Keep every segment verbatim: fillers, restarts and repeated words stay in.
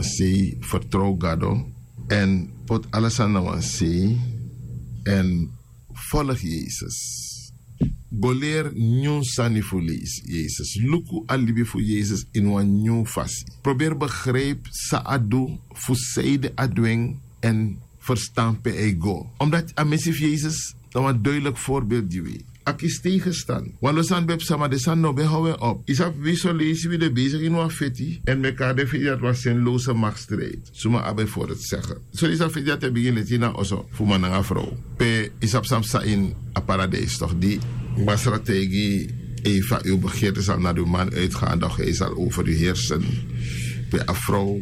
sei, fertrow gado, èn poti ala sani na wan sei, èn folgi yesus. Go leri nyun sani fu yesus. Luku a libi fu yesus ini wan nyun fasi. Proberi begripi san a du, fu seide a du en, èn ferstan pe a e go. Omdati a mesi fu yesus na wan duideliki forbeeld gi wi. A kisi tegenstand. Wan lo sani ben psa ma den sani no ben how en op. Yu sabi wi son leisi wi de besigi ini wan feti, èn meki a de feti dati wan senlose makstrijd. Suma abi en fori sege. So yu sabi feti dati e bigin leti ini a oso fu man nanga frow, pe yu sabi san psa ini a paradijs tok' di masra taigi eva yu begeerte sal na di man uitgaan dok hij sal over yu heersen. Pe a frow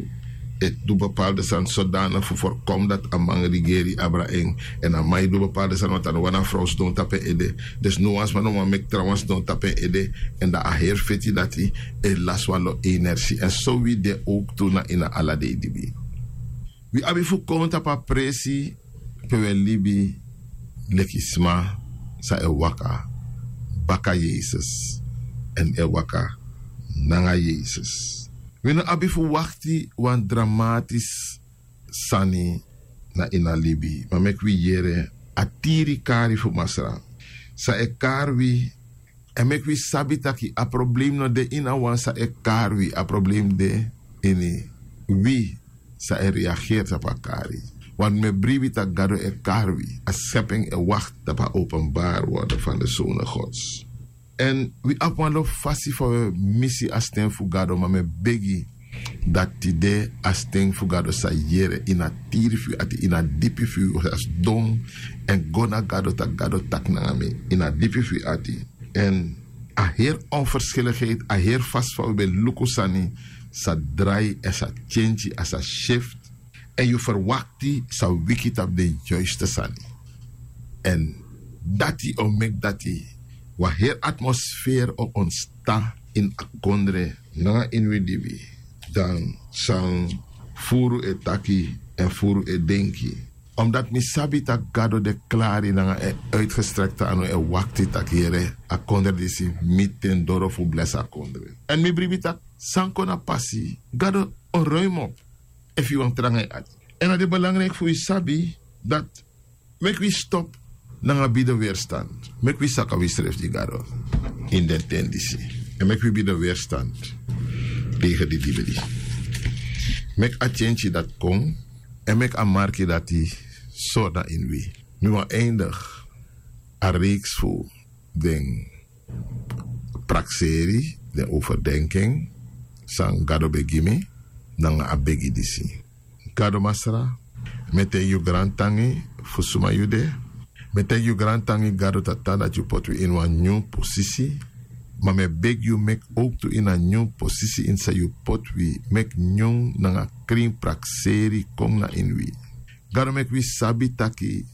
e du bepaalde sani sodana fu forkomi dati a man rigeri abra en. Èn a man e du bepaalde sani wanta no wan na frow sidon tapu en ede. Dus no wan sma no man meki trawan sidon tapu en ede. Èn dan a heri feti dati e lasi wan lo energi èn so wi de owk tu na ini a ala dei dibi. Wi abi fu kon tapu a presi pe wi e libi leki sma san e waka baka yesus, èn e waka nanga yesus. Wi no abi fu wakti wan dramatis sani na ini a libi, ma meki wi yere a tiri kari fu masra san e kari wi. Èn meki wi sabi taki a problem no de ini a wan san e kari wi. A problem de ini wi san e reageri tapu a kari. Wan mi e bribi tak' gado e kari wi. A skeping e wakti tapu a openbari worden fan de sone gods. Èn wi abi wan lo fasi fa wi e misi a sten fu gado ma mi e begi dati tide a sten fu gado sa yere ini a tiri fu yu ati ini a dipi fu yu sa sidon èn go na gado tak' gado taki nanga mi ini a dipi fu yu ati. Èn a heri onverskilikheid a heri fasi fa wi ben luku sani sa drai èn sa tyentyi a sa syift. Èn yu ferwakti sa wiki tapu den yuiste sani. Èn dati o meki dati wan heri atmosferi o ontsta ini a kondre nanga ini wi dibi dan san furu e taki èn furu e denki. Omdati mi sabi tak' gado de klari nanga en uitgestrekte anu e wakti tak' yere a kondre disi miti den doro fu blesi a kondre. Èn mi bribi tak' san kon na pasi gado o ruim op efu yu wani tranga yu ati. Èn a de belangriki fu yu sabi dati meki wi stop nanga bide weerstand. Meki wi saka wi srefi gi gado ini den ten disi. Èn meki wi bide weerstand tegen di dibidi. Meki a tyentyi dati kon èn meki a marki dati sori na ini wi. Mi wani eindigi a reiks fu den prakseri den overdenking san gado ben gi mi nanga a begi disi. Gado masra, mi e taigi yu grantangi fu suma yu de. Mi e taigi yu grantangi gado tata dati yu poti wi ini wan nyun posisi. Ma mi e begi yu meki owktu ini a nyun posisi ini san yu poti wi meki nyun nanga krin prakseri kon na ini wi. Gado meki wi sabi taki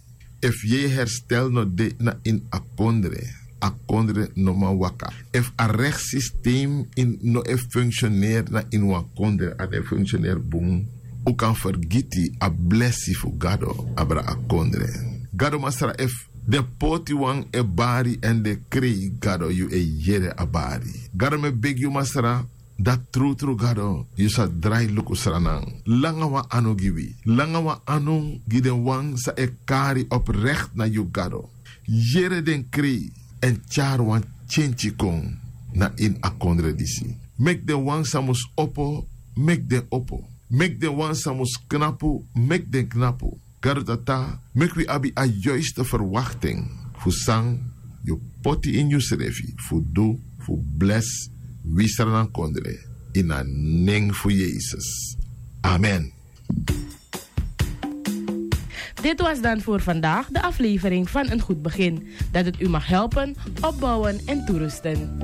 efu yu e herstel no de na ini a kondre, a kondre no man waka. Efu a rekti sistem no e funksioneri na ini wan kondre a no e funksioneri bun, un kan fergiti a blesi fu gado abra a kondre. Gado masra efu den poti wan e bari èn den krei gado yu e yere a bari. Gado mi e begi yu masra dati trutru gado yu sa drai luku sranan langa wan anu gi wi, langa wan anu gi den wan san e kari oprekt na yu gado. Yere den krei èn tyari wan tyentyi kon na ini a kondre disi. Meki den wan san mus opo meki den opo. Meki den wan san mus knapu meki den knapu. Gado tata, meki wi abi a yuiste ferwakten fu san yu poti ini yusrefi fu du fu blesi wi sranankondre. Ini a nen fu yesus. Amen. Dit was dan voor vandaag de aflevering van een goed begin, dat het u mag helpen, opbouwen en toerusten.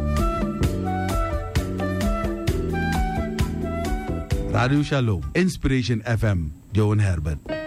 Radio Shalom, Inspiration F M, Johan Herbert.